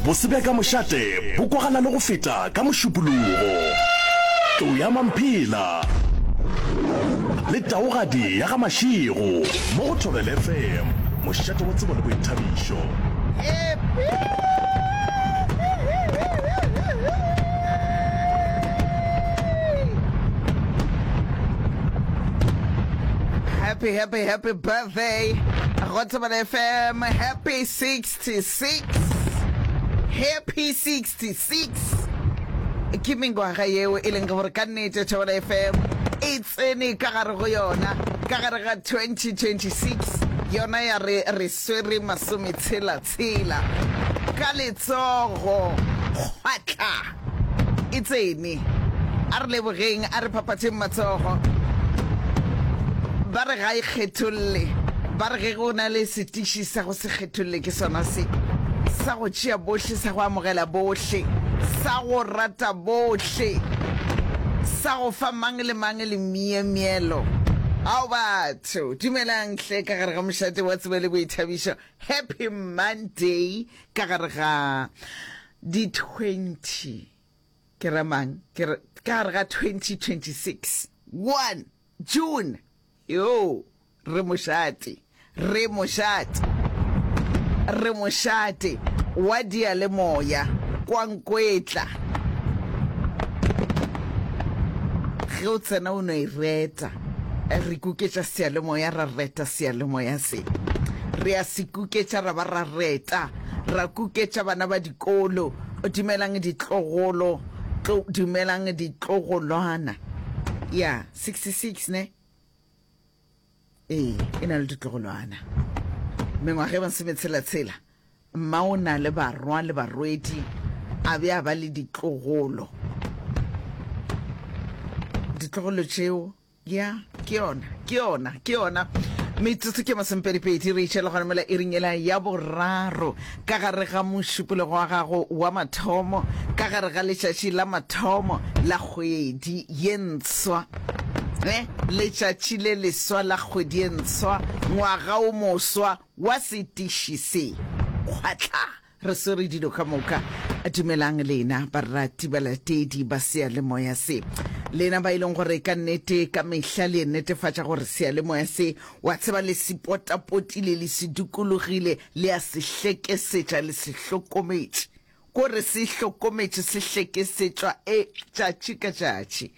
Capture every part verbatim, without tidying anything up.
Bose bja ka mošate bo kwagala le go feta ka Mošupologo. Tlou ya Mamphela le Taugadi ya ga Mashego mo go Thobela F M, mošate wa tsebo le boithabišo. Happy, happy, happy birthday. Go Thobela F M. Happy sixty-six. Happy sixty-six. Ke mengwaga yeo e leng gore ka nnete Thobela F M e tsene ka gare go yona ka gare ga twenty twenty-six, yona ya re re swere masometshela tshela ka letsogo kgwatla e tsene. A re lebogeng, a re phaphatheng matsogo. Ba re ga e kgetholle, ba re ge go na le setiši sa go se kgetholle ke sona se, sa go tšea bohle, sa go amogela bohle, sa go rata bohle, sa go fa mang le mang le myemyelo. Ao batho, dumelang hle ka gare ga mošate wa tsebo le boithabišo. Happy Monday ka gare ga di twenty, ke ra mang, ke re ka gare ga twenty twenty-six, one June. Yo, re mošate, re mošate, re mošate wa diyalemoya. Kwankwetla ge o tsena o no e reta. Re kuketša seyalemoya, ra reta seyalemoya se, re a se kuketša, ra ba ra reta, ra kuketša bana ba dikolo. Dumelang ditlogolo, tlo dumelang ditlogolwana ya sixty-six ne ee e na le ditlogolwana, mengwaga e masometshela-tshela. Mma o na le barwa le barwedi, a be a ba le ditlogolo, ditlogolo tšeo ya ke yona, ke yona, ke yona. Metsotso ke masomepedipedi re itšhela gona mola iring ela ya boraro ka gare ga mošupologo wa gago wa mathomo ka gare ga letšatši la mathomo la kgwedi ye ntshwa, eh letšatši le leswa la kgwedi ye ntshwa, ngwaga o moswa wa setiši se kgwatla re swere dilo ka moka. Dumelang lena barati, balatedi ba seyalemoya se, lena ba e leng gore ka nnete ka mehla le netefatša gore seyalemoya se, wa tseba, le se potapotile, le se dukologile, le a se hlekesetša, le se hlokometše, kore se hlokometše, se hlekesetšwa e tšatši ka tšatši,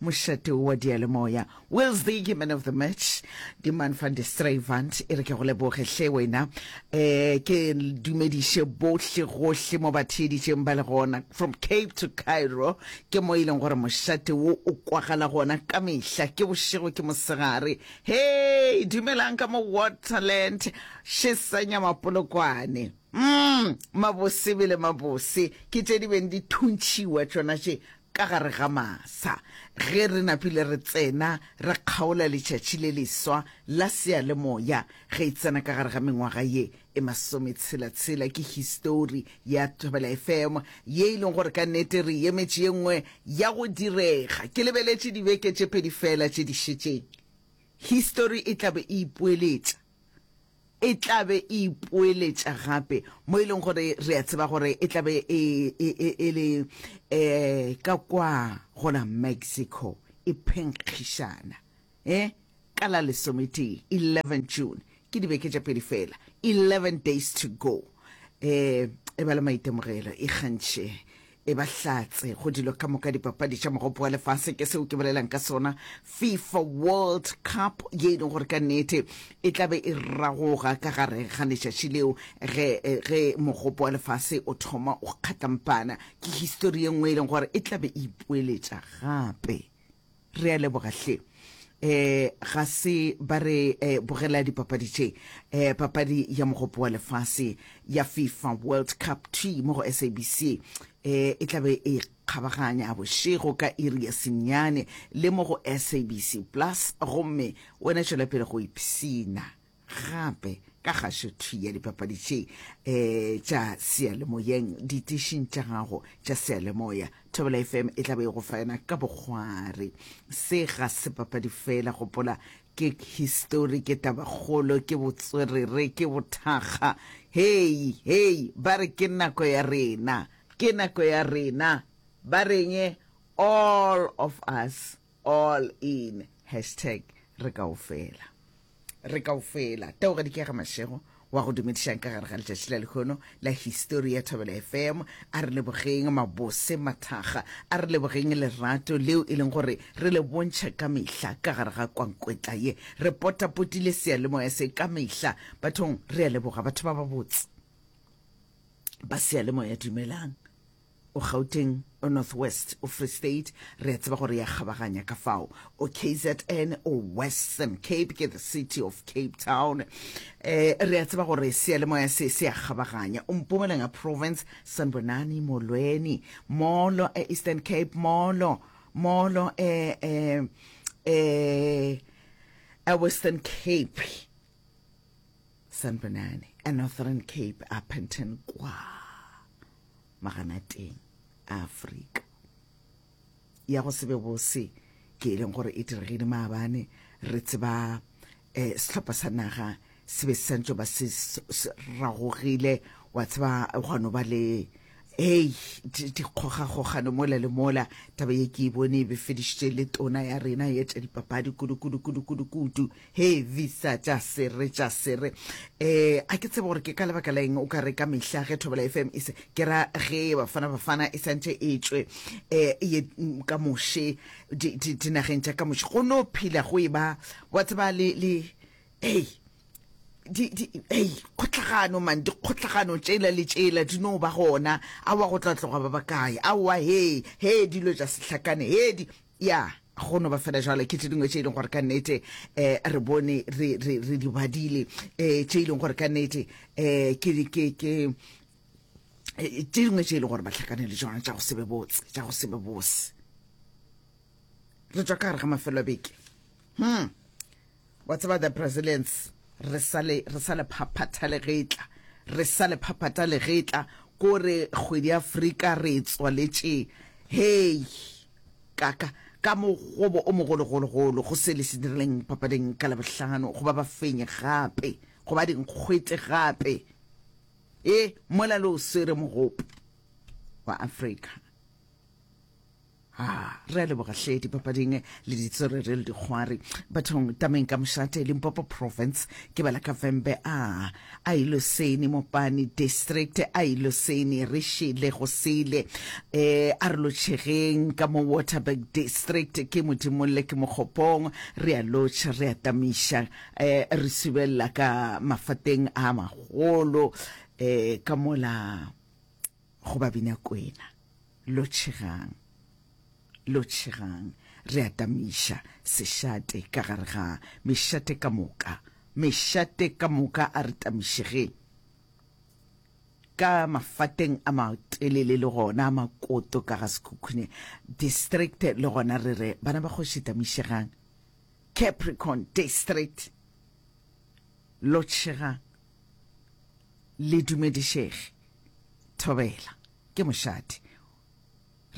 mošate wa diyalemoya. Wills the man of the match, die man van de Strayvant, e re ke go leboge hle wena. um ke dumediše bohle gohle mo ba theeditšeng ba le gona, from Cape to Cairo, ke mo e leng gore mošate wo o kwagala gona ka mehla, ke bošego ke mosegare. Hei, dumelang ka mo Waterland, šesanya mapolokwane, mm mabose bele mabose ke tše di beng di thuntšhiwa tšona tše ka gare ga masa ge re napile re tsena re kgaola letšatši le leswa la seyalemoya ge e tsena ka gare ga mengwaga ye e masometshela-tshela. Ke histori ya Thobela F M ye e leng gore ka nnete re emetše ye nngwe ya go direga. Ke lebeletše dibeke tše pedi fela tše di šetšeng, histori e tlabe e ipoeletša, e tlabe e ipoeletša gape, mo e leng gore re a tseba gore e tlabe e, e, e, e le um ka kwa gona Mexico e phenkgišana eh ka la lesometee, eleven June. Ke dibeke tša pedi fela, eleven days to go. eh e ba le maitemogelo, e kgantšhe, e ba hlatse go dilo ka moka, dipapadi tša mogopo wa lefase, ke seo ke bolelang ka sona, FIFA World Cup ye e leng gore ka nnete e tlabe e ragoga ka gare ga letšatši leo ge ge mogopo wa lefase o thoma o kgatlampana. Ke histori ye nngwe e leng gore e tlabe e ipoeletša gape. Re a leboga hle. eh ga se ba re eh, bogela dipapadi tše, eh papadi ya mogopo wa lefase ya FIFA World Cup t mo go S A B C, eh e tlabe e kgabaganya bošego ka iri ya senyane le mo go S A B C Plus. Gomme wena tšwela pele go ipsina gape ka kgašo thwi ya dipapadi tše um tša seyalemoyeng ditišing tša gago tša seyalemoya. Thobela F M e tla be e go fa yona ka bokgware. Se ga se papadi fela, gopola. Ke histori, ke tabakgolo, ke botswerere, ke bothakga. Hei, hei, ba re ke nako ya rena, ke nako ya rena. Ba reng? All of us, all in. Hashtag re kaofela. Re kaofela. Taugadi ke ya ga Mashego wa go dumedišang ka gare ga letšatši la lehono la histori ya Thobela F M. A re lebogeng mabose mathakga, a re lebogeng lerato leo e leng gore re le bontšha ka mehla ka gare ga kwankwetla ye. Re potapotile seyalemoya se ka mehla. Bathong, re a leboga batho ba babotse ba seyalemoya. Dumelang. O Gauteng, o North West, o Free State, re a tseba gore ya kgabaganya ka fao. O K Z N, o Western Cape, ke the city of Cape Town. Eh, re a tseba gore seyalemoya se se a kgabaganya. O Mpumalanga Province, sanibonani, molweni, molo e Eastern Cape, molo, molo e e e e Western Cape. Sanibonani. E Northern Cape, Upington kwa maganateng a Afrika. Ya go se be bose ke e leng gore e diregile maabane, re tseba eh sehlopha sa naga se be se santse ba se ragogile, wa tseba gwa no ba le hei dikgogakgogano mola le mola. Taba ye ke e bone e befedišitše le tona ya rena ye tša dipapadi kudu kudu kudu kudu kudu. He visa tša sere tša sere eh a ke tsebe gore ke ka lebaka la eng o ka re ka mehla ge Thobela F M e se ke ra ge Bafana Bafana e santše e tšwe eh ye ka moše dinageng tša ka moše, go no phela go e ba wa tseba le le ei di di ei kgotlagano man, dikgotlagano tšela le tšela di no ba gona. Aowa, go tla tloga ba bakae? Aowa, he he dilo tša sehlakane he di ya go no ba fela jalo. Ke tše dingwe tše e leng gore ka nnete um re bone re re re di badile, um tše e leng gore ka nnete um ke ke ke tše dingwe tše e leng gore ba hlakane le tšona tša go se be botse, tša go se be bose. Re tšwa ka gare ga mafelo a beke. hmm wa tseba the Brazilians, re sa le re sa le phaphatha legetla, re sa le phaphatha legetla kore kgwedi ya Afrika re tswaletše hei ka ka ka mogobo o mogologologolo go se le se dirileng papading ka Labohlano, go ba ba fenye gape, go ba dinkgwete gape e mola le o swere mogopo wa Afrika. A re a leboga hle dipapading le ditswerere le dikgwari bathong. Tameng ka mošate Limpopo Province, ke bala ka Vhembe a a iloseni Mopani District, a iloseni re šele go sele. eh a re lotšhegeng ka mo Waterberg District, ke Modimolle, ke Mokgopong, re a lotšha, re a tamiša, eh re subelela ka mafateng a magolo eh ka mola go Babina Kwena. Lotšhegang, lotšhegang, re a tamiša sešate ka gare ga mešate ka moka, mešate ka moka a re tamišegeng ka mafateng a matelele le gona a makoto ka ga Sekhukhune District, le gona re re bana ba kgoši tamišegang. Capricorn District, lotšhegang le dumedišege. Thobela ke mošate,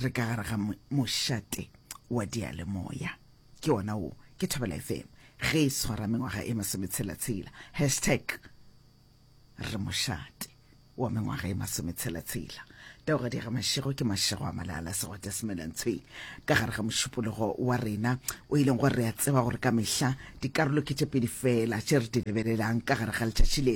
re ka gare ga mošate wa diyalemoya, ke ona wo ke Thobela F M ge e swara mengwaga e masometshela-tshela. Hashtag re mošate wa mengwaga e masometshela-tshela. Taogadi ga Mašego ke Mašego a Malala Segwata Semelantshweng ka gare ga mošupologo wa rena o e leng gore re a tseba gore ka mehla dikarolo ke tše pedi fela tše re di lebelelang ka gare ga letšatši le.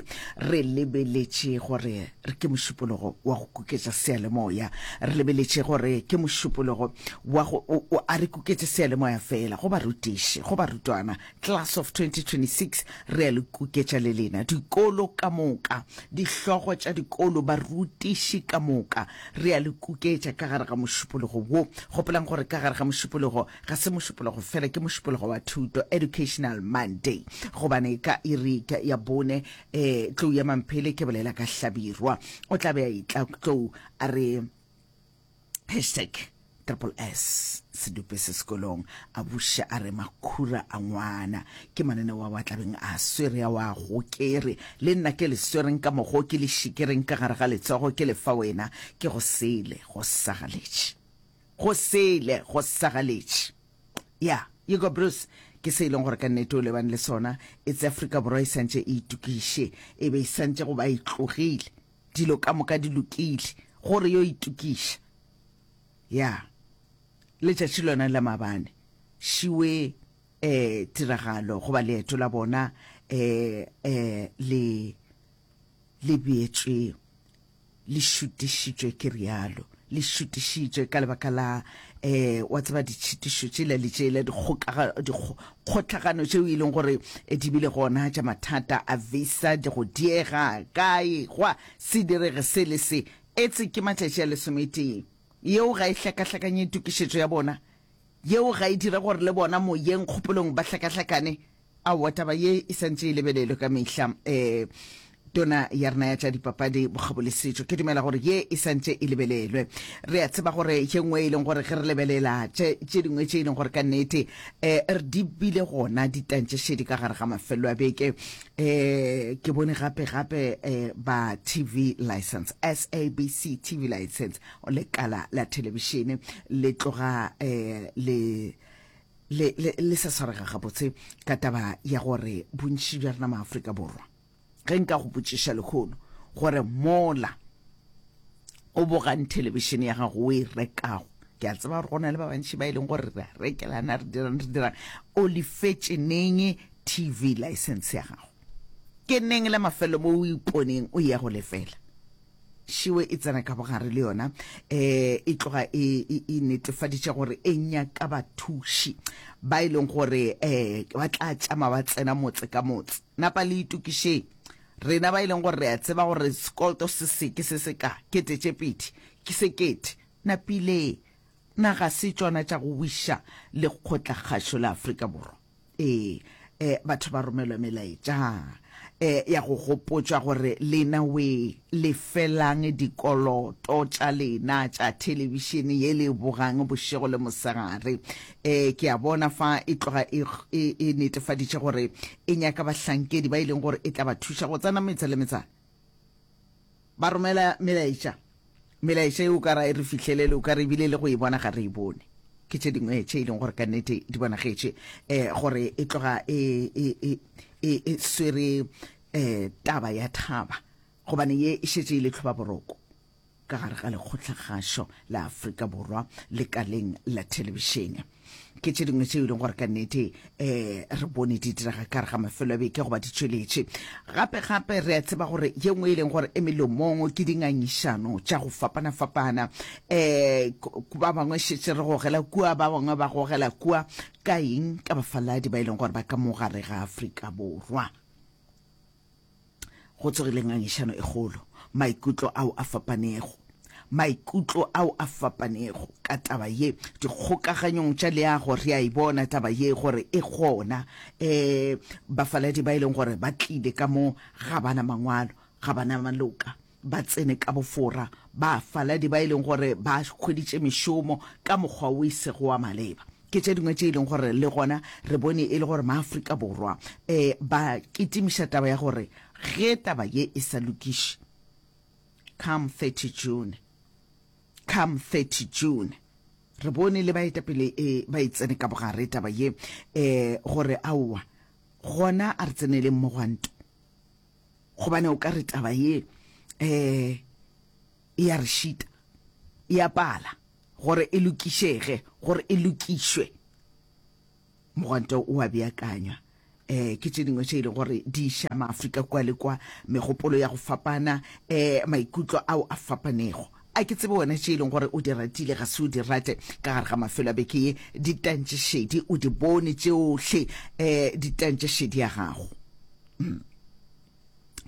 Re lebeletše gore re ke mošupologo wa go kuketša seyalemoya, re lebeletše gore ke mošupologo wa go a re kuketše seyalemoya fela go barutiši, go barutwana, class of twenty twenty-six, re a le kuketša le lena dikolo ka moka, dihlogo tša dikolo, barutiši ka moka, re a le kuketša ka gare ga mošupologo wo. Gopolang gore ka gare ga mošupologo ga se mošupologo fela, ke mošupologo wa thuto, Educational Monday, gobane ka iri ya bone um tlou ya Mamphele, ke bolela ka Hlabirwa, o tla be a itla tlou a re hashtag triple S sedupe se sekolong, a buša a re makhura a ngwana. Ke mananeo a wa tlabeng a swere a wa gokere le nna ke le swereng ka mogo, ke le šikereng ka gare ga letsogo, ke le fa wena, ke go sele go sagaletše, go sele go sagaletše. Ya Hugo Bruce ke Ke se e leng gore ka nnete o lebane le sona. Etse Afrika Borwa e santše e itokiše, e be e santše go ba e tlogile, dilo ka moka di lokile, gore yo itokiša. Ya, letšatši lona la maabane, šiwe eh tiragalo goba leeto la bona eh eh le le beetšwe, le šutišitšwe, ke rialo, le šutišitšwe ka lebaka la eh wa tseba ditšhitišo tšela le tšela, dikgohlagano tšeo e leng gore di bile gona tša mathata a visa, di go diega kae, gwa se direge se le se. Etse ke matšatši a lesometee. Yeo ga e hlakahlakanye tokišetšo ya bona. Yeo ga e dire gore le bona moyeng kgopolong ba hlakahlakane. Aowa, taba ye e santše e lebelelwe ka mehla. Eh tona ya rena ya tša dipapadi, bokgabo le setšo, ke dumela gore ye e santše e lebelelwe. Re a tseba gore ye nngwe e leng gore ge re lebelela tše tše dingwe tše e leng gore ka nnete eh re di bile gona di tantšešedi ka gare ga mafelelo a beke. Eh ke bone gape gape eh ba T V license, S A B C T V license, lekala la thelebišene le tloga eh le le le le sa swarega gabotse ka taba ya gore bontši bja rena maAfrika Borwa, ge nka go botšiša lekgono gore mola o bogang thelebišene ya gago o e rekago, ke a tseba gore go na le ba bantši ba e leng gore re a rekelana, re dirang re dirang, o lefetše neng T V license ya gago? Ke neng le mafelo mo o iponeng o ya go lefela? Šiwe e tsena ka bogare le yona, eh e tloga e e netefaditše gore e nyaka bathuši ba e leng gore eh ba tla tšama ba tsena motse ka motse. Napa le itokišeng, rena ba e leng gore re a tseba gore sekoloto se se ke se se ka kete tše pedi ke sekete. Napile naga se tšona tša go wiša lekgotlakgašo la Afrika Borwa. Ee, eh batho ba romelwa melaetša eh ya go gopotšwa gore lena we lefelang dikoloto tša lena tša thelebišene ye le bogang bošego le mosegare. eh ke a bona fa e tloga e, e, e netefaditše gore e nyaka bahlankedi ba e leng gore e tla ba thuša go tsena metse le metsana, ba romela melaetša. Melaetša e o ka ra e re fihlelele, o ka re ebile le go e bona ga re e bone. Ke tše dingwe tše e leng gore ka nnete di bonagetše um gore e tloga e, e, e, e, e swere um taba ya thaba, gobane ye e šetše e le tlhoba boroko ka gare ga lekgotlakgašo la Afrika Borwa lekaleng la thelebišene. Ke tše dingwe tše e leng gore ka nnete um re bone di direga ka gare ga mafelo a beke goba di tšweletše. Gape gape re a tseba gore ye nngwe e leng gore e melomong ke dingangišano tša go fapana-fapana. um ba bangwe šetše re gogela kua, ba bangwe ba gogela kua, ka eng? Ka bafaladi ba e leng gore ba ka mo gare ga Afrika Borwa. Go tsogile ngangišano e kgolo, maikutlo ao a fapanego, maikutlo ao a fapanego ka taba ye dikgokaganyong tša leago. Re a e bona taba ye gore e gona. um bafaladi ba e leng gore ba tlile ka mo ga bana mangwalo, ga bana maloka, ba tsene ka bofora, bafaladi ba e leng gore ba hweditše mešomo ka mokgwa o e sego wa maleba. Ke tše dingwe tše e leng gore le gona re bone e le gore maAfrika Borwa um ba kitimiša taba ya gore ge taba ye e sa lokiše come thirty June, come thirty June, re bone le baetapele e ba e tsene ka bogare taba ye, um gore aowa, gona a re tseneleng mogwanto, gobane o ka re taba ye um e ya re šita, e a pala gore e lokišege, gore e lokišwe. Mogwanto o a beakanywa. um ke tše dingwe tše e leng gore di iša maAfrika kua le kwa, megopolo ya go fapana, um maikutlo ao a fapanego. A ke tsebe wena tše e leng gore o di ratile, ga se o di rate ka gare ga mafelo a beke ye, di tantšešedi, o di bone tšohle, um di tantšešedi ya gago. mm.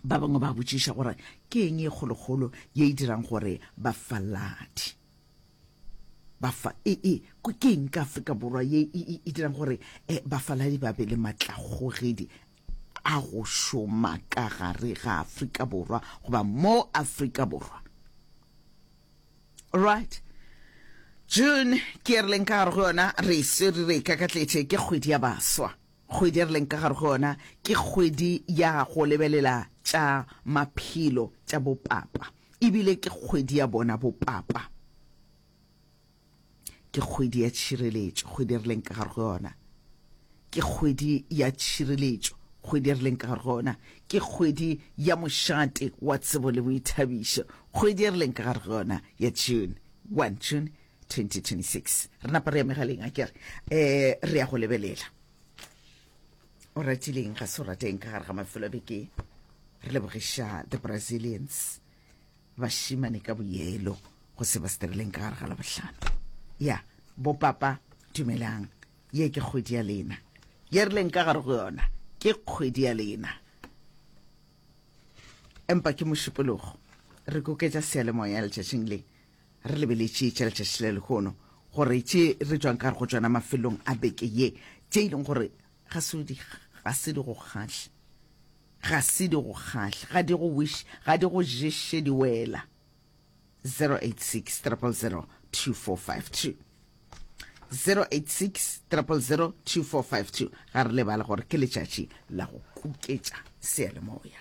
Ba bangwe ba botšiša gore ke eng e kgolokgolo ye e dirang gore bafaladi bafa e e ke eng ka Afrika Borwa ye e, e dirang gore eh, bafaladi ba be le matlakgogedi a go šoma ka gare ga Afrika Borwa goba mo Afrika Borwa? Right, June ke re leng ka gare go yona, re swere re kakatletše, ke kgwedi ya baswa. Kgwedi re leng ka gare go yona ke kgwedi ya go lebelela tša maphelo tša bopapa, ebile ke kgwedi ya bona bopapa, ke kgwedi ya tšhireletšo. Kgwedi re leng ka gare go yona Ke kgwedi ya tšhireletšo, kgwedi e re leng ka gare go yona. Ke kgwedi ya mošate wa tsebo le boithabišo, kgwedi e re leng ka gare go yona ya June, one June twenty twenty-six. Re napa re ya megaleng, a ke re, eh, re ya go lebelela. O ratileng ga se o rateng ka gare ga mafelo a beke. Re lebogiša the Brazilians, bašemane ka boyelo go se ba se dirileng ka gare ga Labohlano. Ya, bopapa, dumelang. Ye ke kgwedi ya lena. Ye re leng ka gare go yona ke kgwedi ya lena. Empa ke Mošupologo. Re koketša seyalemoya letšatšing le. Re lebeletše tša letšatši le lehono, gore tše re tšwang ka gare go tšona mafelong a beke ye, tše e leng gore ga se di, ga se di go kgahle. Ga se di go kgahle. Ga di go wish, ga di go ješe di wela. zero eight six triple zero two four five two. zero eight six triple zero two four five two. Ga re lebale gore ke letšatši la go kuketša seyalemoya.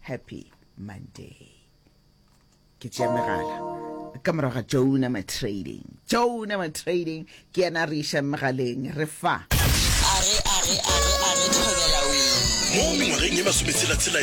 Happy Monday. Ke tšea megala ka morago ga Jonah Matrading. Jonah Matrading ke yena a re išang megaleng, re fa. A re, a re, a re, a re thobela wee. Mo mengwageng ye masometshela-tshela ya